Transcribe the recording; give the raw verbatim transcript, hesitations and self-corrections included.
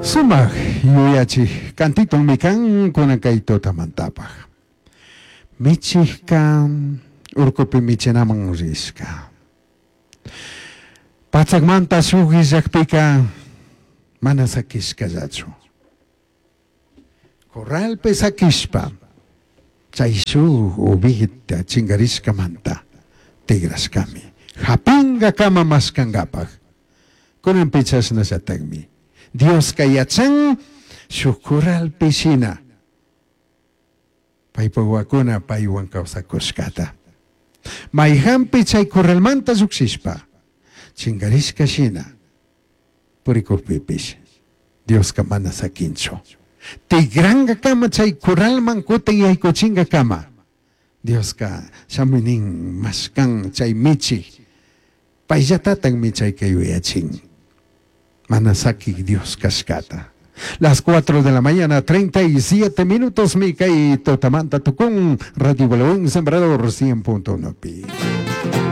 Sumak yuyachi kantiton kan kunan kay tutamantapaj. Michijka urkupi michinaman rishka. Patsakmanta shuk illakpika mana sakishkallachu. Corralpi sakishpa chay shuk ovejita chinkarishkamanta tigrashkami. Japingakama mashkankapaj. Kunanpi chashnallatakmi. Dioska yachan shuk corralpi shina paypak wawakuna paywan kawsakushkata. Mayhampi chay corralmanta llukshishpa chinkarishka shina purikukpipish Dioska mana sakinchu. Tigrankakama chay corralman kutin yaykuchinkakama Dioska shamuynin mashkan chay michik payllatatakmi chayka yuyachin. Mana sakik Dios kashkata. Las cuatro de la mañana, treinta y siete minutos, mi kay tutamanta tukun Radio Buen Sembrador cien punto uno pi.